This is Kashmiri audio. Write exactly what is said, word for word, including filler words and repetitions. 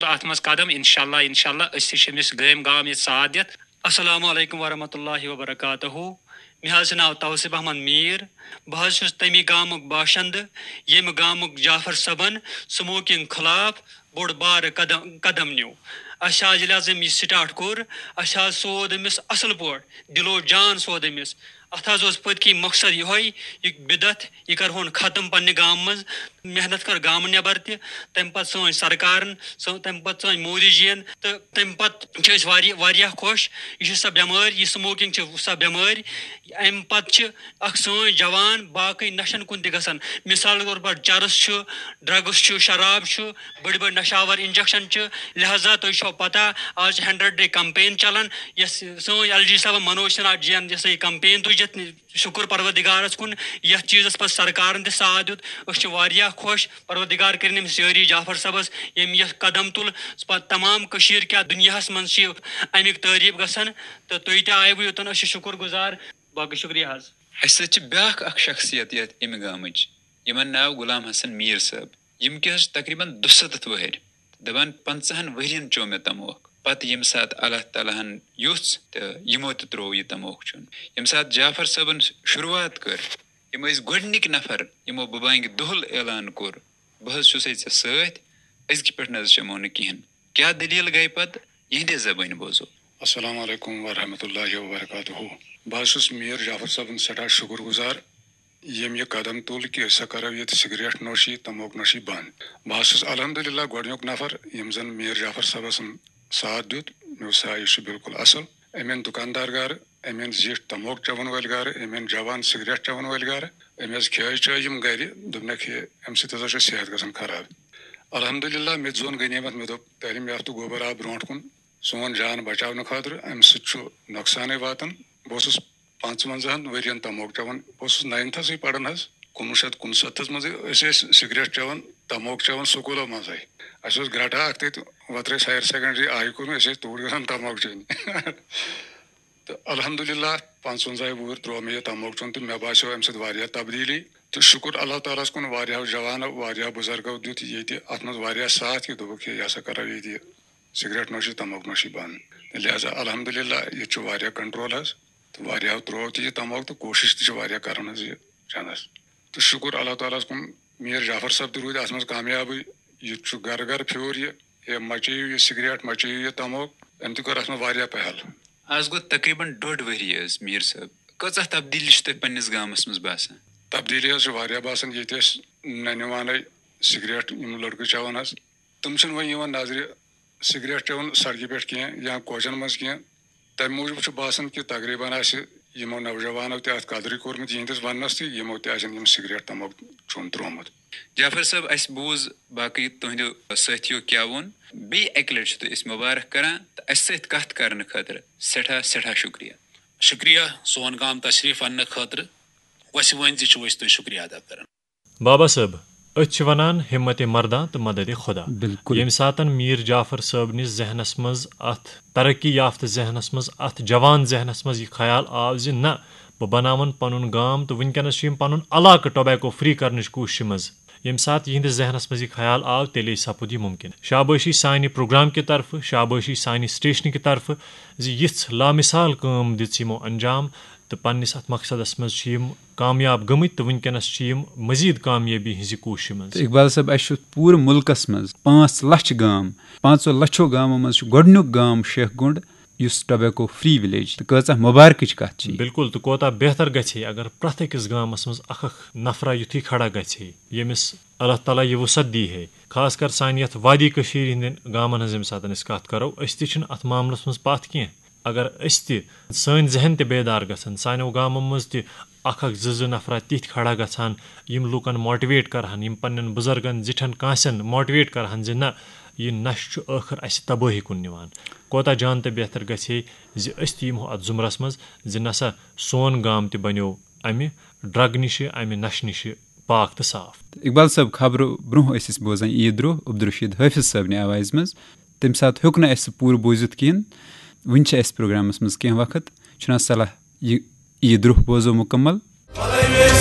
اَتھ منٛز قدم، انشاءاللہ، انشاءاللہ، أسۍ تہِ چھِ أمِس گٲمۍ گام ییٚتہِ ساتھ دِتھ۔ السلام علیکم ورحمۃ اللہ وبرکاتہ۔ مےٚ حظ چھُ ناو توصیف احمد میٖر۔ بہٕ حظ چھُس تَمی گامُک باشندٕ، ییٚمہِ گامُک جعفر صٲبن smoking خلاف بوٚڑ بارٕ قدم، قدم نیوٗ۔ اَسہِ حظ، ییٚلہِ حظ أمۍ یہِ start کوٚر، اَسہِ حظ سوٗد أمِس اَصٕل پٲٹھۍ، دِلو جان سوٗد أمِس۔ اَتھ حظ اوس پٔتۍ کِنۍ مقصد یِہوٚے، یہِ بدعت، یہِ کَرہون ختم پنٛنہِ گامہٕ منٛز۔ محنت کٔر گامہٕ نٮ۪بر تہِ، تَمہِ پَتہٕ سٲنۍ سرکارن، سٲ-، تَمہِ پَتہٕ سٲنۍ مودی جِین، تہٕ تَمہِ پَتہٕ چھِ أسۍ واریاہ، واریاہ خۄش۔ یہِ چھِ سۄ بٮ۪مٲرۍ، یہِ smoking چھِ سۄ بٮ۪مٲرۍ، اَمہِ پَتہٕ چھِ اَکھ سٲنۍ جوان باقٕے نَشَن کُن تہِ گژھان۔ مِثال کے طور پر چرس چھُ، drugs چھُ، شراب چھُ، بٔڑۍ بٔڑۍ نشاور injection چھِ۔ لہذا تۄہہِ چھو پتہ، آز چھِ hundred day campaign چلان، یۄس سٲنۍ ایل جی صٲبن منوج سنہا جی ین یۄس یہِ campaign تُج، یتھ شُکر پروردگارس کُن، یتھ چیٖزس پتہٕ سرکارن تہِ ساتھ دیُت۔ أسۍ چھِ واریاہ خۄش، پروردگار کٔرِن أمِس یٲری جعفر صٲبس، ییٚمۍ یۄس قدم تُل، پتہٕ تمام کٔشیٖر کیٛاہ دُنیاہس منٛز چھِ امیُک تعریٖف گژھان۔ تہٕ تُہۍ تہِ آیوٕ یوٚتن، أسۍ چھِ شُکر گُزار۔ باقٕے شُکریہ حظ۔ اَسہِ سۭتۍ چھِ بیٛاکھ اَکھ شخصیت یَتھ اَمہِ گامٕچ، یِمَن ناو غلام حسن میٖر صٲب، یِم کہِ حظ چھِ تقریٖباً دُسَتَتھ وٕہٕرۍ۔ دَپان، پنٛژاہَن ؤرِیَن چیوٚو مےٚ تموکھ، پَتہٕ ییٚمہِ ساتہٕ اللہ تعالیٰ ہَن یوٚژھ تہٕ یِمو تہِ ترٛوو یہِ تموکھ چیوٚن۔ ییٚمہِ ساتہٕ جعفر صٲبَن شروٗعات کٔر، یِم ٲسۍ گۄڈٕنِکۍ نفر، یِمو بہٕ بانگہِ دُہُل اعلان کوٚر، بہٕ حظ چھُسَے ژےٚ سۭتۍ، أزکہِ پٮ۪ٹھ نہ حظ چٮ۪مو نہٕ کِہیٖنۍ۔ کیٛاہ دٔلیٖل گٔے پَتہٕ؟ یِہِنٛدے زبٲنۍ بوزو۔ السلام علیکم ورحمۃ اللہ وبرکاتہ۔ بہٕ حظ چھُس میٖر جعفر صٲبُن سٮ۪ٹھاہ شُکُر گُزار، ییٚمۍ یہِ قدم تُل کہِ أسۍ ہا کَرو ییٚتہِ سگریٹ نوشی، تموک نوشی بنٛد۔ بہٕ حظ چھُس الحمدللہ گۄڈٕنیُک نفر، ییٚمۍ زَن میٖر جعفر صٲبَس ساتھ دیُت۔ مےٚ اوس سا، یہِ چھُ بالکل اَصٕل۔ أمۍ أنۍ دُکاندار گَرٕ، أمۍ أنۍ زِٹھۍ تموک چٮ۪وَن وٲلۍ گَرٕ، أمۍ أنۍ جوان سگریٹ چٮ۪وَن وٲلۍ گَرٕ۔ أمۍ حظ کھیٛٲے چٲے یِم گَرِ، دوٚپنَکھ، ہے، اَمہِ سۭتۍ ہسا چھُ صحت گژھان خراب۔ الحمدللہ، مےٚ تہِ زون غنیمت، مےٚ دوٚپ، تعلیٖم یافتہٕ گوبر آو برونٛٹھ کُن۔ سون جان بچاونہٕ خٲطرٕ، اَمہِ سۭتۍ چھُ نۄقصانٕے واتان۔ بہٕ اوسُس پانٛژوَنزاہَن ؤرِین تموک چٮ۪وان، بہٕ اوسُس ناینتھَسٕے پران حظ، کُنوُہ شیٚتھ کُنسَتتھَس منٛزٕے ٲسۍ أسۍ سگریٹ چٮ۪وان، تموک چٮ۪وان سکوٗلو منٛزٕے۔ اَسہِ اوس گرٛٹہٕ اَکھ تٔتۍ وترٲے higher secondary آیہِ کوٚر مےٚ، أسۍ ٲسۍ توٗرۍ گژھان تموک چیٚنہِ۔ تہٕ الحمدللہ، پانٛژوَنزاہ وُہُر ترٛوو مےٚ یہِ تموک چیوٚن تہٕ مےٚ باسیو اَمہِ سۭتۍ واریاہ تبدیٖلی۔ تہٕ شُکُر اللہ تعالیٰ ہَس کُن، واریاہو جوانو، واریاہو بُزرگو دیُت ییٚتہِ اَتھ منٛز واریاہ ساتھ، کہِ دوٚپُکھ، ہے، یہِ ہسا کَرو ییٚتہِ یہِ سگریٹ نوشی، تموک نوشی بنٛد۔ تہٕ لہذا الحمدللہ، ییٚتہِ چھُ واریاہ control حظ، تہٕ واریاہو ترٛوو تہِ یہِ تموک، تہٕ کوٗشِش تہِ چھِ واریاہ کَران حظ یہِ چٮ۪نَس۔ تہٕ شُکُر اللہ تعالیٰ ہَس کُن، میٖر جعفر صٲب تہِ روٗدۍ اَتھ منٛز کامیابٕے۔ یہِ تہِ چھُ گَرٕ گَرٕ پھیوٗر یہِ، ہے، مَچٲیِو یہِ سگریٹ، مَچٲیِو یہِ تموک۔ أمۍ تہِ کٔر اَتھ منٛز واریاہ پہل۔ آز گوٚو تقریٖباً ڈۄڈ ؤری حظ، میٖر صٲب۔ کۭژاہ تبدیٖلی چھِ تۄہہِ پنٛنِس گامَس منٛز باسان؟ تبدیٖلی حظ چھِ واریاہ باسان۔ ییٚتہِ ٲسۍ نَنہِ وانَے سگریٹ یِم لٔڑکہٕ چٮ۪وان حظ، تِم چھِنہٕ وۄنۍ یِوان نظرِ سگریٹ چٮ۪وان سڑکہِ پٮ۪ٹھ کینٛہہ یا کوچَن منٛز کینٛہہ۔ تَمہِ موٗجوٗب چھُ باسان کہِ تقریٖباً آسہِ یِمو نوجوانو تہِ اَتھ قدرٕے کوٚرمُت یِہِنٛدِس وَننَس تہٕ یِمو تہِ آسن یِم سگریٹ تموک چیوٚن ترٛوومُت۔ جعفر صٲب، اَسہِ بوٗز باقٕے تُہٕنٛدیو سٲتھیو کیٛاہ ووٚن۔ بیٚیہِ اَکہِ لَٹہِ چھِ تُہۍ أسۍ مُبارک کران تہٕ اَسہِ سۭتۍ کَتھ کرنہٕ خٲطرٕ سٮ۪ٹھاہ، سٮ۪ٹھاہ شُکریہ۔ شُکریہ سون گام تشریٖف اَننہٕ خٲطرٕ۔ وَسہِ ؤنۍ زِ چھِو أسۍ تُہۍ شُکریہ ادا کران۔ بابا صٲب، أتھۍ چھِ وَنان ہمت مرداں تہٕ مدد خدا۔ بِلکُل۔ ییٚمہِ ساتَن میٖر جعفر صٲبنِس ذہنَس منٛز، اَتھ ترقی یافتہٕ ذہنَس منٛز، اَتھ جوان ذہنَس منٛز یہِ خیال آو زِ نہ، بہٕ بناوَن پَنُن گام تہٕ وٕنکیٚنَس چھِ یِم پَنُن علاقہٕ tobacco free کرنٕچ کوٗششہِ منٛز۔ ییٚمہِ ساتہٕ یِہنٛدِس ذہنَس منٛز یہِ خیال آو، تیٚلے سپُد یہِ مُمکِن۔ شابٲشی سانہِ پروگرام کہِ طرفہٕ، شابٲشی سانہِ سٹیشنہٕ کہِ طرفہٕ زِ یِژھ لامثال کٲم دِژ یِمو انجام تہٕ پننِس اَتھ مقصدَس منٛز چھِ یِم کامیاب گٔمٕتۍ تہٕ وٕنکیٚنَس چھِ یِم مزید کامیٲبی ہٕنٛزِ کوٗششہِ منٛز۔ تہٕ اقبال صٲب، اَسہِ چھُ پوٗرٕ مُلکَس منٛز پانٛژھ لَچھ گام، پانٛژو لَچھو گامو منٛز چھُ گۄڈٕنیُک گام شیخ گُنٛڈ، یُس tobacco free village، تہٕ کۭژاہ مُبارکٕچ کَتھ چھِ یہِ۔ بِلکُل، تہٕ کوتاہ بہتر گژھِ ہے اگر پرٛٮ۪تھ أکِس گامَس منٛز اَکھ اَکھ نفرا یُتھُے کھڑا گژھِ ہے، ییٚمِس اللہ تعالیٰ یہِ وُسعت دی ہے۔ خاص کر سانہِ یَتھ وادی کٔشیٖرِ ہِنٛدٮ۪ن گامَن ہٕنٛز ییٚمہِ ساتہٕ أسۍ کَتھ کَرو، أسۍ تہِ چھِنہٕ اَتھ معاملَس منٛز پَتھ کینٛہہ۔ اگر أسۍ تہِ، سٲنۍ ذہن تہِ بیدار گژھن، سانیو گامو منٛز تہِ اَکھ اَکھ زٕ زٕ نفرا تِتھۍ کھڑا گژھان، یِم لوٗکَن motivate کَرہَن، یِم پنٛنٮ۪ن بُزرگَن زِٹھٮ۪ن کانٛسٮ۪ن motivate کَرہَن زِ نہ، یہِ نشہٕ چھُ ٲخٕر اَسہِ تبٲہی کُن نِوان۔ کوتاہ جان تہٕ بہتر گژھِ ہے زِ أسۍ تہِ یِمو اَتھ زُمرَس منٛز زِ نہ سا، سون گام تہِ بنیو اَمہِ drug نِشہِ، اَمہِ نشہٕ نِشہِ پاک تہٕ صاف۔ اقبال صٲب، خبرٕ برونٛہہ ٲسۍ أسۍ بوزان عیٖد روٚہ عبدالرشید حٲفظ صٲبنہِ آوازِ منٛز۔ تَمہِ ساتہٕ ہیوٚک نہٕ اَسہِ سُہ پوٗرٕ بوٗزِتھ کِہیٖنۍ۔ وٕنہِ چھِ اَسہِ پروگرامَس منٛز کینٛہہ وقت۔ چھُنہ صلاح یہِ عیٖد روٚہ بوزو مُکمل؟